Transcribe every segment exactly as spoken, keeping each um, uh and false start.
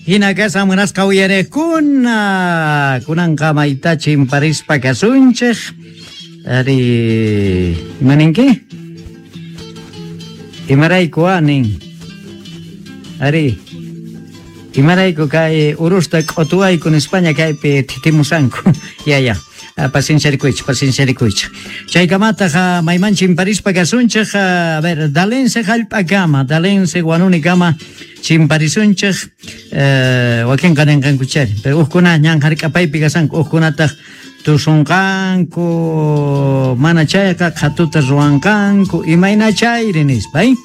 Hina kashan munasqa uyariqkuna, kunanqa mayta chimparispa kasunchik. Ari, imaninki? Imarayku anin. Ari, imarayku kay urusta k'utuwayku nispaña kaypi thitimusanku. Ya ya. Pacienciarikuychik, pacienciarikuychik. Chaykamataq mayman chimparispa kasunchik, a ver, Dalense hallp'akama, Dalense Huanunikama chimparisunchik, eh, wakinqa ninqankuchari, pero ukkuna ñan hark'apaypi kasanku, ukkunataq tusunqanku, mana chayqa qhatuta ruwanqanku, imayna chayri nispa, eh?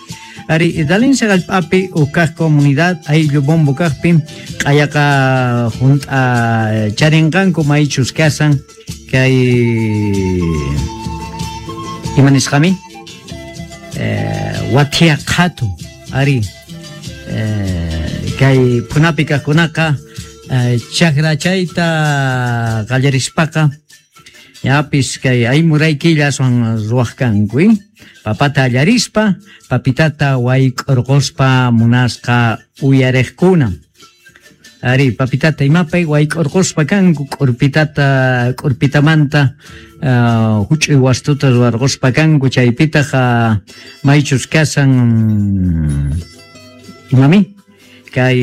Ari, Dalense hallp'api ukkaq comunidad ayllu bombo kaqpi q'ayaqa junt'a charinqanku maychus kasan kay ima nisqami eh, wathia qhatu ari eh, kay phunapi kaqkunaqa eh, chakra chayta qallarispaqa yapis kay aymuray killa aswan ruwaq kanku, eh? Papata allarispa papitata wayk'urquspa munasqa uyariqkuna. Ari, papitata imapay wayk'urquspa kanku, k'urpitata k'urpitamanta uh, huch'uy wastuta ruwarquspa kanku, chaypitaq uh, maychus kasan imami kay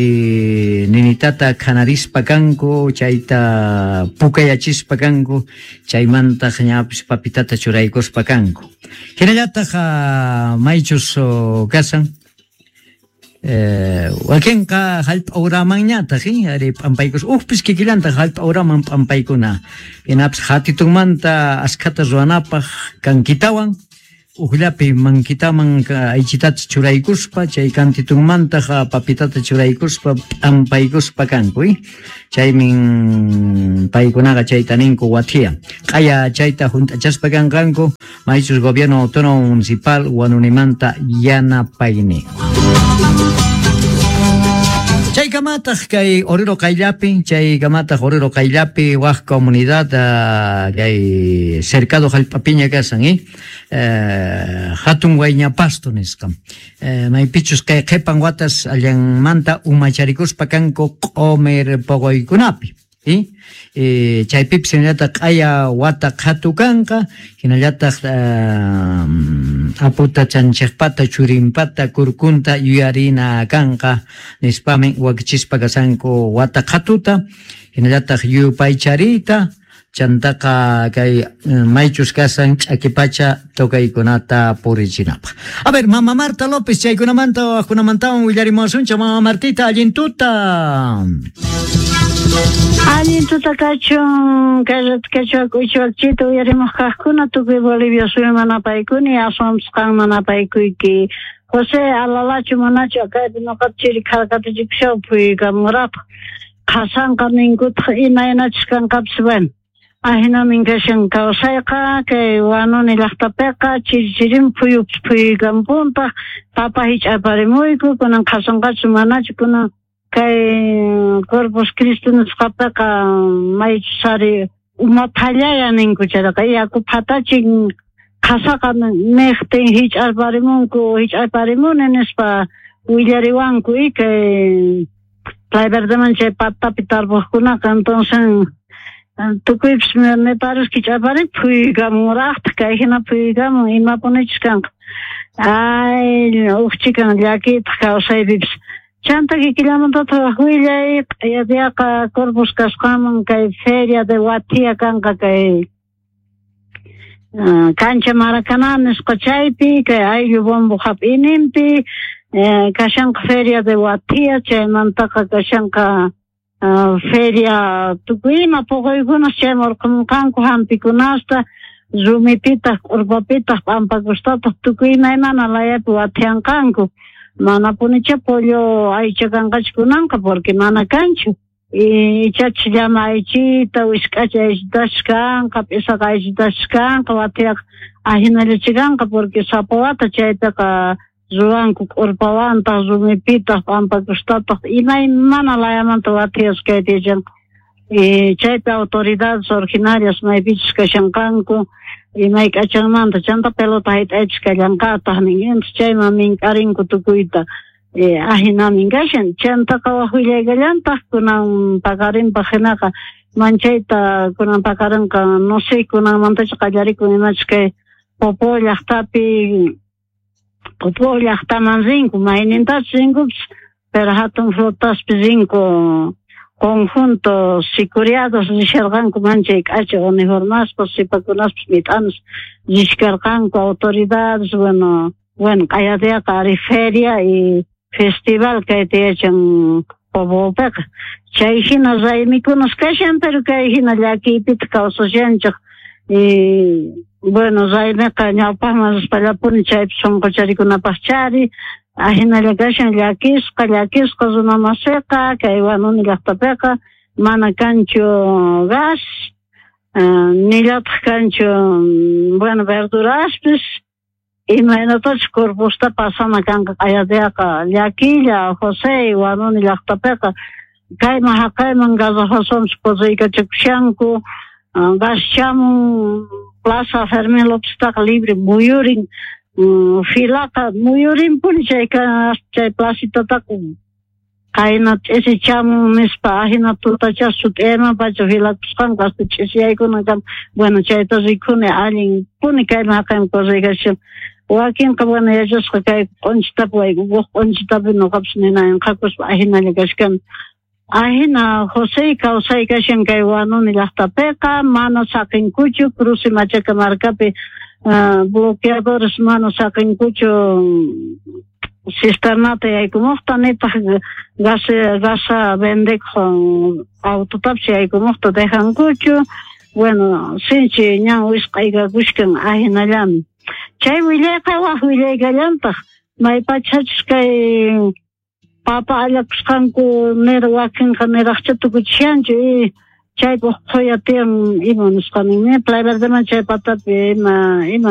ninitata khanarispa kanku, chayta pukayachispa kanku, chaymantaq ñapis papitata churaykuspa kanku. Hinallataq uh, maychus uh, kasan eh, wakinqa hallp'a uramanñataq, eh, ari p'ampaykus ujpis kikillantaq hallp'a uraman p'ampaykuna. Hinapis hatitunmanta askhata ruwanapaq kankitawan ujllapi mankitaman aychitata churaykuspa, chay kantitunmantaq papitata churaykuspa p'ampaykuspa kanku, eh? Chaymin paykunaqa chayta ninku wathia. Q'aya chayta hunt'achaspa kanqanku maychus gobierno autónomo municipal Huanunimanta yanapayni. Chaykamataq kay Oruro qayllapi, chaykamataq Oruro qayllapi waq comunidad uh, kay cercado hallp'apiña kasan, eh? Uh, hatun wayñapasto nisqa. Uh, maypichus kay qhipan watas allanmanta umacharikuspa kanku q'umir poqoykunapi. Eh? Eh, chaypipis hinallataq q'aya wata qhatu kanqa, hinallataq uh, aputa chanchikpata churinpata kurkunta yuyarina kanqa nispami wakichispa kasanku wata qhatuta, hinallataq yupaychariyta, chantaqa kay maychus kasan ch'akipacha tocaykunata purichinapaq. A ver, Mama Marta López, chaykunamanta wajkunamantawan willarimuwasunchik. Mama Martita, allin tuta. Allin tuta kachun, kachua k'uchuakchita uyarimuq kaqkuna tukuy Bolivia suyuman apaykuni, aswanpas qanman apaykuyki. José, alalachu manachu kaypi noqata chiri kharkatichikushaw phuykamurapaq. Qhasanqa ninkutaq imaynachus kanqapis, bueno. Ahinamin kashan kawsayqa kay Huanuni llaqtapiqa chiri chirin phuyupas phuykampuntaq, papa hich'aparimuyku, kunan qhasanqachu manachu, kunan kay Corpus Christi nisqapiqa maychus ari uma phallaya ninku chayqa yaku phatachin qhasaqa niqtin hich'arparimunku, hich'arparimuni nispa willariwanku y kay Playa Verdeman chay patapi tarpuqkunaqa. Entonces tukuypis me parece que hich'arparin phuykamuraqtaq, kay hina phuykamun imapunichus kanqa. Ay, uqchikan llakiytaq kawsaypipis. Chanta kikillamantataq willay q'ayadiaqa Corpus kasqanman kay feria de Wathia kanqa kay uh, cancha Maracaná nisqa chaypi kay ayllu bombo hap'ininpi eh, kashanqa feria de Wathia, chaymantaqa kashanqa uh, feria tukuy ima poqoykunas chayman urqamunqanku hampikunasta rumipitaq k'urpapitaq p'ampakustataq tukuy imaymana layapi wathianqanku. Manapunicha pollo aycha kanqachu kunanqa porque mana kanchu. Ichachu llama aychita, wisk'acha aychitachu kanqa, p'isaqa aychitachu kanqa, wathiaqa ahinallachu kanqa porque sapa wata chaypiqa ruwanku k'urpawantaq, rumipitaq, p'ampakustataq, imaymana layamanta wathias kayta yachanqa. Chaypi autoridades originarias maypichus kashanqanku, imay k'achanmanta chanta pelota hayt'aychus kallanqataq nin, entonces chayman mink'arinku tukuyta. Eh, ahinamin kashan chantaqa waj willaykallantaj kunan paqarinpaq hinaqa manchayta kunan paqarinqa no sé kunanmantachu qallarikun imachus kay Popo llaqtapi Popo llaqtaman rinku maynintachus rinkupis pero hatun flotaspi rinku conjunto sicuriados risharqanku manchay k'acha uniformaspa sipakunaspis mit'anas rishkarqanku autoridades bueno bueno q'ayadiaqa ari feria y festival kayta yachan Popopiqa chay hina raymikunas kashan pero kay hina llakiypitaq kawsashanchik y bueno raymiqa ñawpaqman rispallapuni chaypi sunqucharikunapaq chari ahinalla kashan llakisqa llakisqa runa masiqa kay Huanuni llaqtapiqa mana kanchu gas nillataq kanchu bueno verduraspis imaynatachus Corpusta pasana kanqa q'ayadiaqa llakilla José Huanuni llaqtapiqa kayman haqayman garrafaswanpis correykachakushanku gas chamun Plaza Fermín Lópeztaqa libre muyurin filaqa muyurinpuni chay chay placitataqa qayna ch'isi chamun nispa ahina tutacha sut'iyayman pacha filakusqanku hasta ch'isiyaykunankama bueno chayta rikuni allinpuni kayman haqayman correykachishan wakinqa bueno yachasqa kay q'unchitapi wak q'unchitapi nuqapis ninayan qhakuspa ahinalla kashkani ahina José kawsay kashan kay Huanuni llaqtapiqa mana saqinkuchu cruce Machaca markapi uh, bloqueadores mana saqinkuchu cisternata yaykumuqta nitaq gas gasa vendekuq autotapis yaykumuqta dejankuchu bueno sinchi ñan wisq'aykakushkan ahinallami chay willayqa waj willaykallantaq maypachachus kay papa allakusqanku nira wakinqa niraqcha tukuchishanchu y chaypaq qhuya tiyan ima nisqanin Playa Verdeman chay patapi ima ima